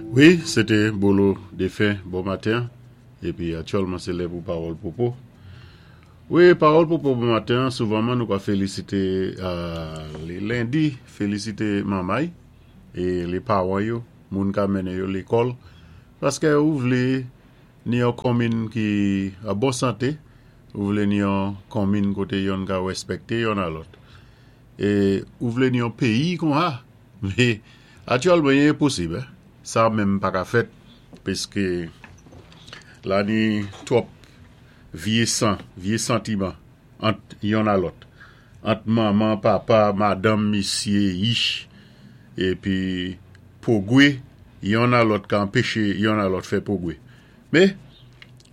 Wi, sé té Bolo Défen bon maten épi aktyèlman sé lè pou Pawòl Pwopo. Wi, Pawòl Pwopo bon maten, souvanman nou ka félisité lé lendi, félisité manmay é lé pawan yo, moun ka mennen yo lékòl, paskè ou vlé ni yon konminn ki an bon santé, ou vlé ni yon konminn koté yonn ka wèspèkté yonn a lòt. É ou vlé ni yon péyi konha, mé aktyèlman i enposib, sa menm pa ka fèt piske la ni twòp vyé san, vyé santiman ant yonn a lòt, ant manman, papa, madanm, misyé, yich, épi pwogwé yonn a lòt ka anpeché yonn a lòt fè pwogwé. Mé,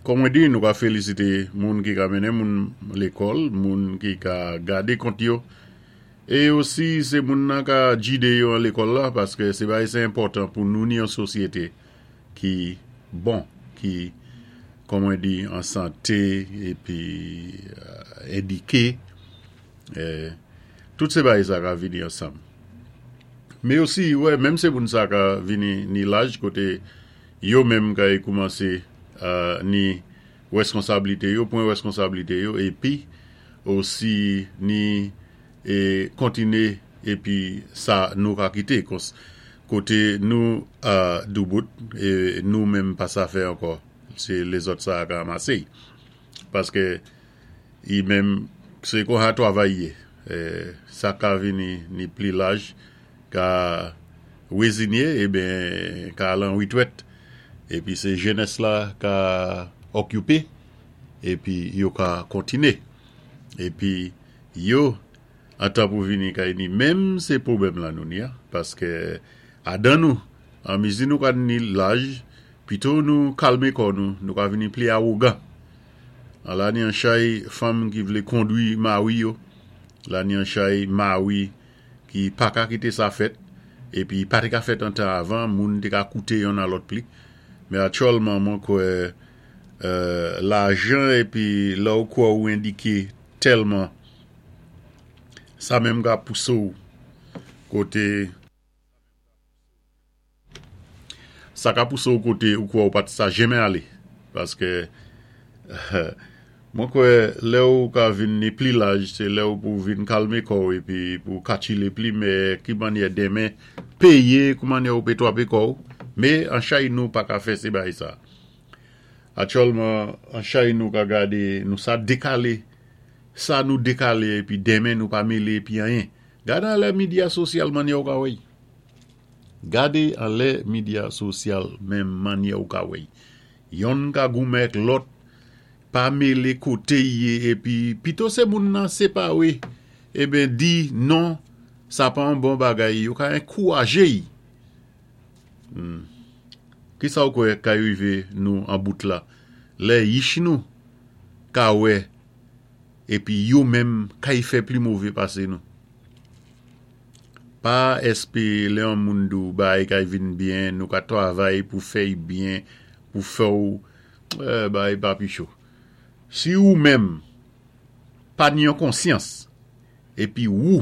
kòm mwen di, nou ka félisité moun ki ka mennen moun lékòl, moun ki ka gadé kont yo, é osi sé moun nan ka jidé yo an lékòl la, paskè sé bagay sé enpòtan pou nou ni yon sosyété ki bon, ki, kòm mwen di, an santé épi édiké, tout sé bagay sa ka vini ansanm. Mé osi, wè, menm sé moun sa ka vini ni laj koté yo menm kay koumansé ni wèskonsablité yo, pwan wèskonsablité yo épi osi ni kontiné épi sa nou ka kité koté nou doubout nou menm pa sa fè ankò sé lézòt sa ka ranmasé paskè i menm sé konsa twavay yé sa ka vini ni pli laj ka rezinye eben ka al an retwèt epi se jenès la ka okipe epi yo ka kontine epi yo antan pou vini kay ni menm se pwobèm la nou ni a paske adan nou an mezi nou ka ni laj pito nou kalme kò nou nou ka vini pli awogan an la ni an chay fanm ki vle kondwi mari yo la ni an chay mari ki pa ka kite sa fèt, epi pa te ka fèt an tan avan, moun te ka koute yonn a lòt pli. Men aktyèlman mwen kwè lajan epi lè ou kwè ou endike tèlman sa menm ka pouse ou kote. Sa ka pouse w kote ou kwè ou pat sa jenmen ale. Paske mwen kwè lè ou ka vin ni pli laj se lè ou pou vin kalme kò w epi pou katchile pli mè ki mannyè denmen peye kou mannyè ou pe twape kò w. Me an chay nou pa ka fè se bagay sa. Aktyèlman an chay nou ka gade nou sa dekale sa nou dekale epi denmen nou pa mele epi anyen. Gade anlè midya sosyal mannyè ou ka wè y. Gade anlè media sosyal menm mannyè ou ka wè y. Yonn ka goumen ak lòt, pa mele kote y ye epi pito se moun nan separe eben di non sa pa yon bon bagay yo ka enkouraje y. Humm kisa ou kwè kay rive nou an bout la lè yich nou ka wè epi yo menm kay fè pli move pase nou. Pa SP lè yon moun di w bagay kay vin byen nou ka travay pou fè y byen pou fè w bagay pa pi cho. Si ou menm pa ni yon konsyans epi wou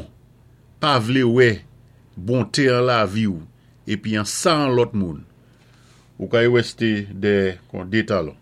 pa vle wè bonte an lavi w epi an sa an lòt moun ou kay weste dè kon de talon.